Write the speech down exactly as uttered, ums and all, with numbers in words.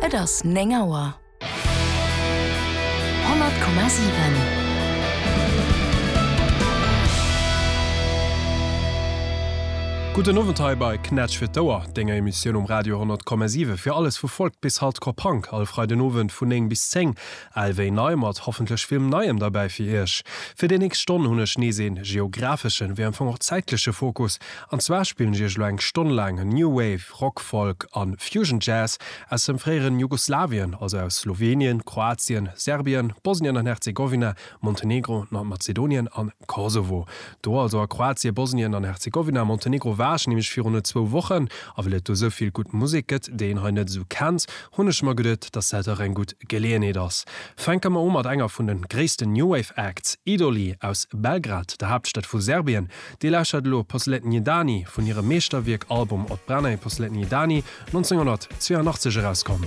Et ass néng Auer. Honnert Komma siwen. Gudden Owend hei bei Knätsch fir d'Ouer, denger Emissioun um Radio honnert Komma siwe fir alles vu Folk bis Hardcore Punk, all Freiden Owend vun néng bis zéng. Al wéi nei, mat hoffentlech villem Neiem derbäi fir iech. Fir déi nächst Stonn hunn ech nees een geographeschen, wéi am Fong och zäitleche Fokus. An zwar spillen ech iech elo eng Stonn laang New Wave, Rock, Folk an Fusion Jazz aus dem fréieren Jugoslawien, also aus Slowenien, Kroatien, Serbien, Bosnien an Herzegowina, Montenegro, Nordmazedonien an Kosovo. Do also a Kroatien, Bosnien an Herzegowina, Montenegro war ech nämlech virun zwou Wochen, a well et do esou vill gutt Musek gëtt, déi een hei net esou kennt, hunn ech mer geduet, dass dat dach eng gutt Geleeënheet ass. Fänke mer u mat enger vun de gréissten New Wave Acts, Idoli aus Belgrad, der Haaptstad vu Serbien. Dir lauschtert elo Poslednji Dani vun hirem Meeschterwierk Album Odbrana i Poslednji Dani, nonzénghonnertzweeanachtzeg erauskomm.